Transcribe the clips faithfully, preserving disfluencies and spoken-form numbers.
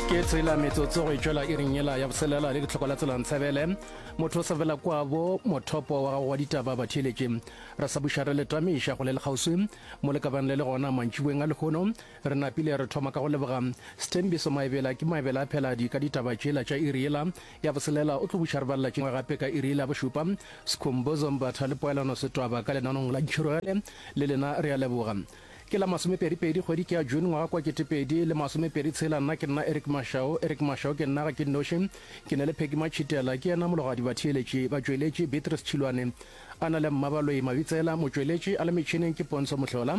Ke tsela metsotso go e tšwela iring yela ya boselela le ditlhoko la tsela ntshebele motho o sa fela kwabo mothopo wa gago wa ditaba batheeletše re sa buša re le tamiša go le lekgauswi mo le ka bang le le gona mantšiboeng a lehono re napile re thoma ka go leboga Sthembiso Maebela ke Maebela a pheladi ka ditaba tšela tša iri yela ya boselela o tlo buša re balela tšengwe gape ka iri yela ya bošupa Skhumbuzo Mbatha le Poelano Setwaba ka lenanong la Ntšhirogele le lena re a leboga Ke la masomepedi-pedi kgwedi ke ya June ngwaga kwa ketepedi le masomepedi tshela nna ke nna Eric Mashau Eric Mashau ke nna ga ke nnoši ke ne le Peggy Matšhitela ke yena mologadi batheeletši batšweletši Beatrice Tšhilwane a na le Mmabaloi Mabitsela motšweletši a le metšhineng ke Pontsho Mohlola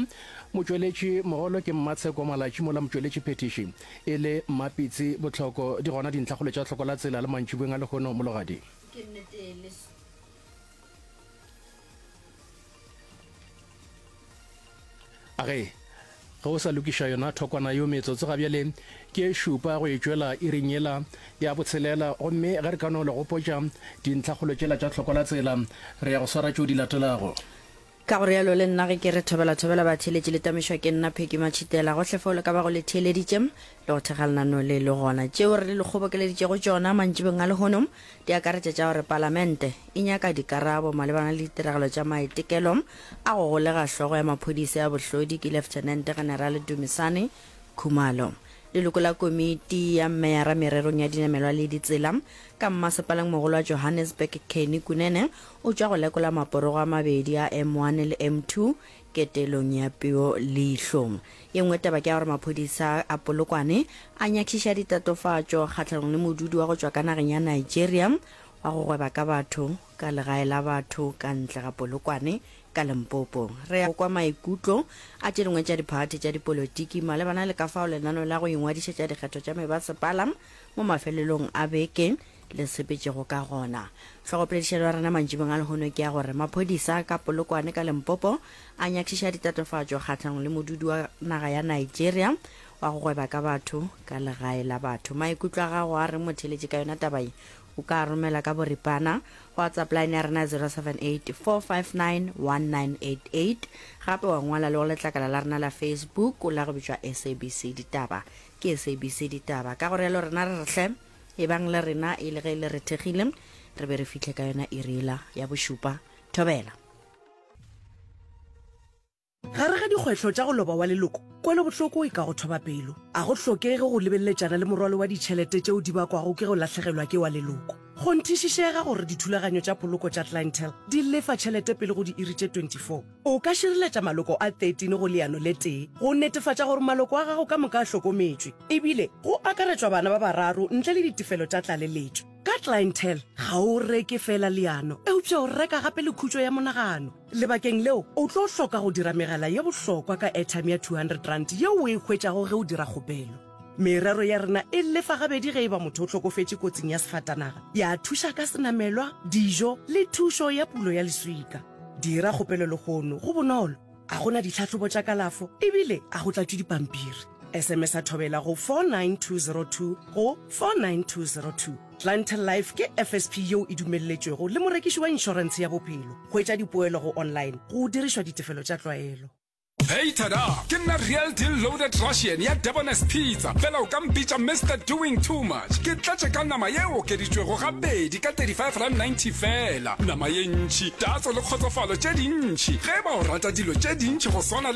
motšweletši mogolo ke Mmatsheko Malatši mola motšweletši phethiši e le Mmapitsi Bohloko di gona dintlhakgolo tša hloko la tsela le mantšiboeng a lehono mologadi. Ke nnete le A ge, ge o sa lokiša yona thokwana yeo metsotso ga bjale ke e šupa go e tšwela iring yela ya botshelela, gomme ge re ka no le gopotša dintlhakgolo tšela tša hloko la tsela, re ya go swara tšeo di latelago. Ka go realo le nna ge ke re thobela thobela batheeletši le tamišwa ke nna Peggy Matšhitela gohle fao le ka bago le theeleditše le go thekga lenaneo le le gona. Tšeo re le kgobokeleditšego tšona mantšibeng a lehono di akaretša tša gore Palamente e nyaka dikarabo malebana le ditiragalo tša maitekelo a go golega hlogo ya maphodisa ya bohlodi ke Leftenente Generale Dumisani Khumalo. Leloko la komiti ya meyara mererong ya dinamelwa le ditsela ka mmasepaleng mogolo wa Johannesburg Kenny Kunene o tšwa go lekola maporogo a mabedi a M one le M two ketelong ya peo leihlo. Ye nngwe taba ke ya gore maphodisa a Polokwane a nyakišiša ditatofatšo kgahlanong le modudi wa go tšwa ka nageng ya Nigeria wa go gweba ka batho ka legae la batho ka ntle ga Polokwane ka Limpopo. Re ya go kwa maikutlo a tše dingwe tša diphathi tša dipolotiki malebana le ka fao lenaneo la go ingwadišetša dikgetho tša mebasepala mo mafelelong a beke le sepetšego ka gona. Hlogopoledišano ya rena mantšibong a lehono ke ya gore maphodisa ka Polokwane ka Limpopo a nyakišiša ditatofatšo kgahlanong le modudi wa naga ya Nigeria wa go gweba ka batho ka legae la batho. Maikutlo a gago a reng motheeletši ka yona taba ye? O ka a romela ka boripana go WhatsApp line ya rena ya zero seven eight four five nine one nine eight eight gape wa ngwala le go letlakala la rena la Facebook la go bitšwa S A B C Ditaba. Ke S A B C Ditaba. Ka go realo rena re re hle ebang le rena e le ge le re thekgile re be re fihle ka yona iri yela ya bošupa. Thobela. Gare ga dikgwetlho tša go loba wa leloko, kwelobohloko e ka go thoba pelo. A go hlokege go lebeleletšana le morwalo wa ditšhelete tšeo di bakwago ke go lahlegelwa ke wa leloko. Kgonthišišega gore dithulaganyo tša poloko tša Clientele di lefa tšhelete pele go diiri tše twenty four. O ka šireletša maloko a thirteen go leano le tee go netefatša gore maloko a gago ka moka a hlokometšwe, ebile go akaretšwa bana ba bararo ntle le ditefelo tša tlaleletšo. Ka Clientele, ga o reke feela leano, eupša o reka gape le khutšo ya monagano. Lebakeng leo, o tlo hloka go dira megala ye bohlokwa ka airtime ya two hundred rand yeo o e hwetšago ge o dira kgopelo. Merero ya rena e lefa gabedi ge e ba motho o hlokofetše kotsing ya sefatanaga, ya thuša ka senamelwa, dijo le thušo ya pulo ya leswika. Dira kgopelo lehono, go bonolo, a go na ditlhahlobo tša kalafo ebile a go tlatšwe dipampiri. S M S a thobela go four nine two zero two go four nine two zero two. Clientele Life ke F S P yeo e dumelletšwego le morekiši wa inšorentshe ya bophelo. Hwetša dipoelo go online go dirišwa ditefelo tša tlwaelo. Hey tada! Ke nna Real Deal Loaded Russian ya Debonair's Pizza, fela o ka mpitša Mister Doing Too Much. Ke tletše ka nama ye okeditšwego gabedi ka thirty-five rand ninety fela. Nama ye ntši, tatso le kgotsofalo tše dintši. Ge e ba o rata dilo tše dintši go swana le